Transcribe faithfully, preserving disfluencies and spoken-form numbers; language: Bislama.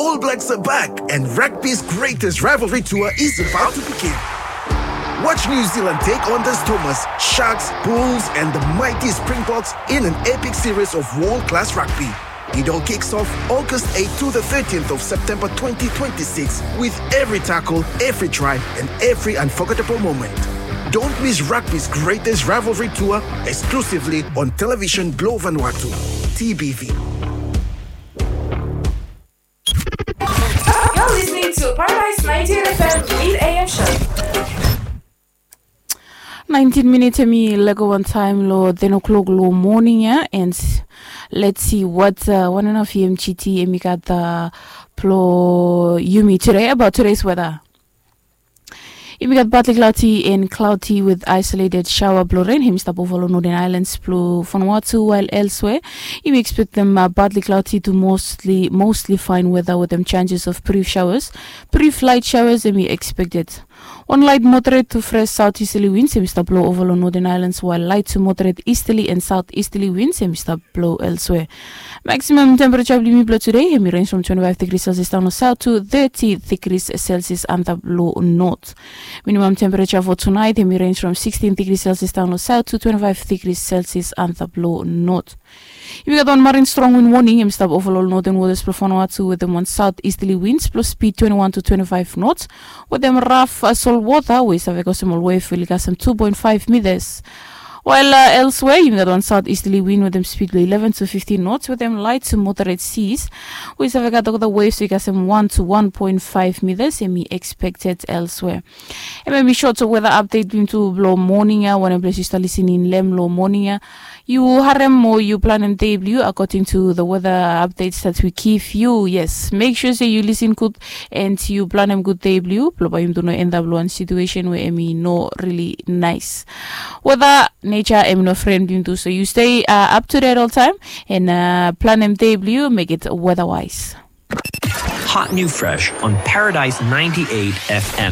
All Blacks are back, and rugby's greatest rivalry tour is about to begin. Watch New Zealand take on the Stormers, Sharks, Bulls, and the mighty Springboks in an epic series of world-class rugby. It all kicks off August eighth to the thirteenth of September twenty twenty-six, with every tackle, every try, and every unforgettable moment. Don't miss rugby's greatest rivalry tour, exclusively on Television Globe Vanuatu, T B V. You're listening to Paradise ninety-eight F M Mid A M Show. Nineteen minutes hemi lego wantaem lo ten o'clock lo moning ia, and let's see what uh, one and a half E M G T hemi gat uh, blo yumi today about today's weather. Yumi gat partly cloudy and cloudy with isolated shower blo rain hemi stap ova lo Northern Islands blo Vanuatu, while elsewhere yumi expectem uh, partly cloudy to mostly mostly fine weather with them chances of brief showers. Brief light showers hemi expected. Wan light moderate to fresh southeasterly winds hemi stap blo ova lo Northern Islands, while light to moderate easterly and southeasterly winds hemi stap blo elsewhere. Maximum temperature blo yumi blo today hemi range from twenty-five degrees Celsius down lo south to thirty degrees Celsius antap lo north. Minimum temperature for tonight hemi range from sixteen degrees Celsius down lo south to twenty-five degrees Celsius antap lo north. Yumi gat wan marine strong wind warning hemi stap ova lo northern waters blo Vanuatu wetem wan southeasterly winds blo speed twenty-one to twenty-five knots, wetem raf uh, sol wota we i save kosem ol wave we oli kasem two point five meters. While uh, elsewhere yumi gat wan southeasterly wind wetem speed blo eleven to fifteen knots wetem light to moderate seas, we i save gat olgeta waves we i kasem one to one point five meters hemi expected elsewhere. Hemia hemi short weather update blo yumi tu blo moning ia, wanem ples yu stap lisening lo hem lo moning ia. Yu harem o yu planem dei blo yu according to the weather updates that we give you. Yes, make sure se yu listen gud and yu planem gud dei blo yu, blo bae yumi tu no end up lo wan situation we hemi no really nice. Weather, nature hemi no fren blo yumi tu, so yu stay uh, up to date all time and uh, planem dei blo yu, make it weather wise. Hot new fresh on Paradise ninety-eight F M.